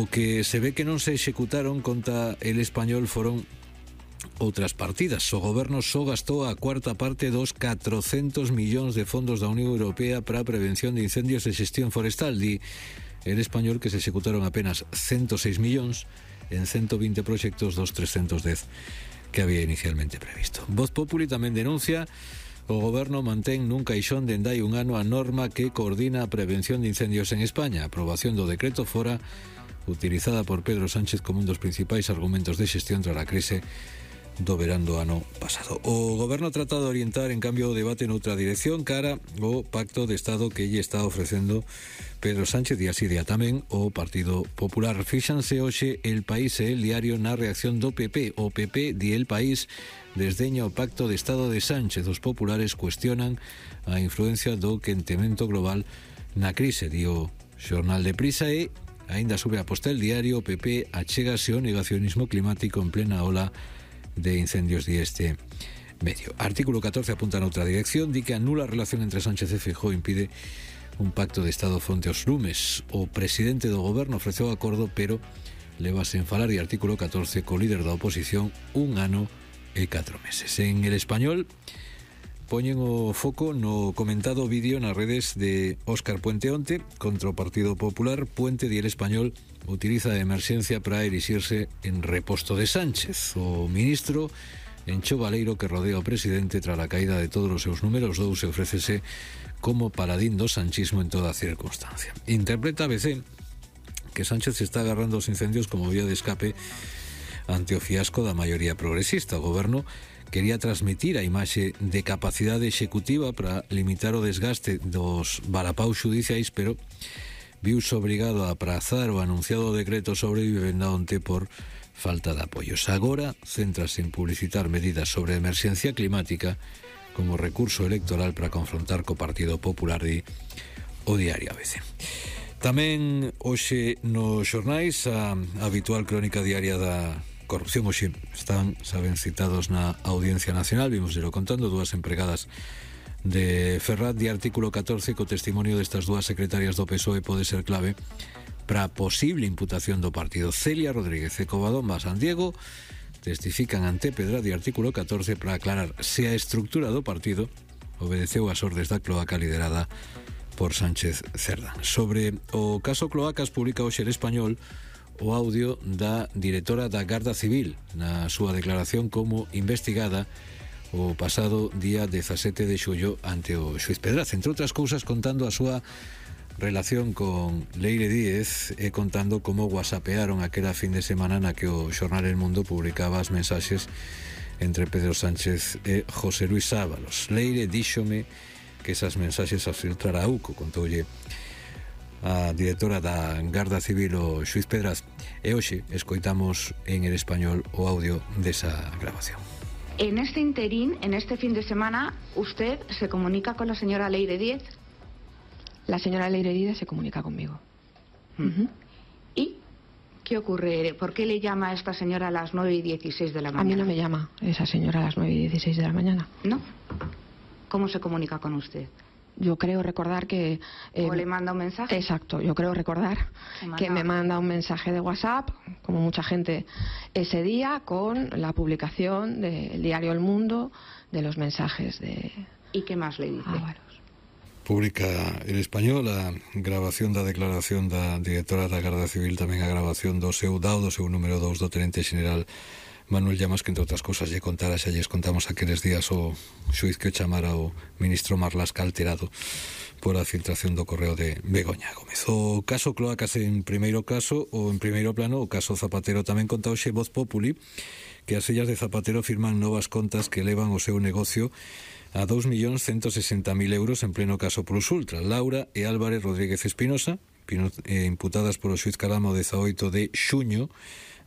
O que se ve que non se executaron contra el Español foron outras partidas. O goberno só gastou a cuarta parte dos 400 millóns de fondos da Unión Europea para a prevención de incendios e xestión forestal. Di el Español que se executaron apenas 106 millóns en 120 proxectos dos 310 que había inicialmente previsto. Voz Populi tamén denuncia o goberno mantén nun caixón dende hai un ano a norma que coordina a prevención de incendios en España. A aprobación do decreto fora utilizada por Pedro Sánchez como un dos principais argumentos de xestión tras a crise do verán do ano pasado. O goberno trata de orientar, en cambio, o debate noutra dirección cara o pacto de Estado que lle está ofrecendo Pedro Sánchez e así día tamén o Partido Popular. Fíxanse hoxe El País e El Diario na reacción do PP. O PP di El País desdeña o pacto de Estado de Sánchez. Os populares cuestionan a influencia do quentemento global na crise, di o xornal de Prisa, e aínda sube a posta El Diario. O PP achégase ao negacionismo climático en plena ola de incendios de este medio. Artículo 14 apunta noutra dirección, di que anula a relación entre Sánchez e Feijóo, impide un pacto de Estado fronte aos lumes. O presidente do goberno ofreceu acordo, pero leva sen falar, e artículo 14 co líder da oposición 1 ano e 4 meses. En El Español poñen o foco no comentado vídeo nas redes de Óscar Puente onte contra o Partido Popular. Puente di El Español utiliza a emerxencia para erixirse en reposto de Sánchez. O ministro encheu o baleiro que rodea o presidente tras a caída de todos os seus números 2 e ofrécese como paladín do sanchismo en toda circunstancia. Interpreta a ABC que Sánchez se está agarrando aos incendios como vía de escape ante o fiasco da maioría progresista. O goberno quería transmitir a imaxe de capacidade executiva para limitar o desgaste dos varapaus xudiciais, pero viuse obrigado a aprazar o anunciado decreto sobre vivenda onte por falta de apoios. Agora céntrase en publicitar medidas sobre a emerxencia climática como recurso electoral para confrontar co Partido Popular, di o diario ABC. Tamén hoxe nos xornais a habitual crónica diaria da corrupción. Hoxe están, saben, citados na Audiencia Nacional. Vimoslo contando, dúas empregadas de Ferrat. De artículo 14, co testimonio destas dúas secretarias do PSOE pode ser clave para a posible imputación do partido. Celia Rodríguez e Covadonga San Diego testifican ante Pedra de artículo 14 para aclarar se a estructura do partido obedeceu as ordes da cloaca liderada por Sánchez Cerdán. Sobre o caso Cloacas, publica hoxe El Español o audio da directora da Garda Civil na súa declaración como investigada o pasado día 17 de xullo ante o xuiz Pedraz, entre outras cousas contando a súa relación con Leire Díez e contando como whatsappearon aquela fin de semana na que o xornal El Mundo publicaba as mensaxes entre Pedro Sánchez e José Luis Ábalos. Leire díxome que esas mensaxes as filtrara a UCO, contoulle a directora da Garda Civil o xuiz Pedraz, e hoxe escoitamos en El Español o audio desa grabación. En este interín, en este fin de semana, ¿usted se comunica con la señora Leire Díez? La señora Leire Díez se comunica conmigo. ¿Y qué ocurre? ¿Por qué le llama a esta señora a las 9:16 de la mañana? A mí no me llama esa señora a las 9:16 de la mañana. ¿No? ¿Cómo se comunica con usted? Yo creo recordar que... ¿O le manda un mensaje? Exacto, yo creo recordar que me manda un mensaje de WhatsApp, como mucha gente ese día, con la publicación del diario El Mundo, de los mensajes de... ¿Y qué más le dice? Ábalos. Publica El Español a grabación da declaración da directora da Garda Civil, tamén a grabación do seu número 2 do tenente xeneral Manuel Llamas, que entre outras cousas lle contara, xa lles contamos aqueles días o xuiz que chamara o ministro Marlaska alterado por a filtración do correo de Begoña Gómez. O caso Cloacas en primeiro plano, o caso Zapatero tamén conta hoxe Voz Populi, que as fillas de Zapatero firman novas contas que elevan o seu negocio a 2.160.000 euros en pleno caso Plus Ultra. Laura e Álvarez Rodríguez Espinosa, imputadas por o xuiz Caramo 18 de xuño,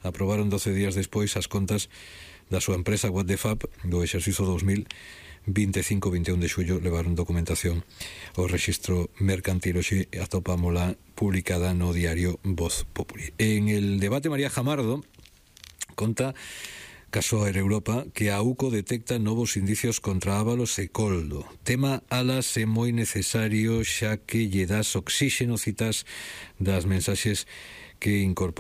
aprobaron 12 días despois as contas da súa empresa What the Fab do exercicio 2025-21 de xullo. Levaron documentación ao rexistro mercantil. Hoxe atopámola publicada no diario Voz Populi. En el debate, María Jamardo conta caso Air Europa que a UCO detecta novos indicios contra Ábalos e Coldo. Tema alas é moi necesario xa que lle das oxíxeno, citas das mensaxes que incorpora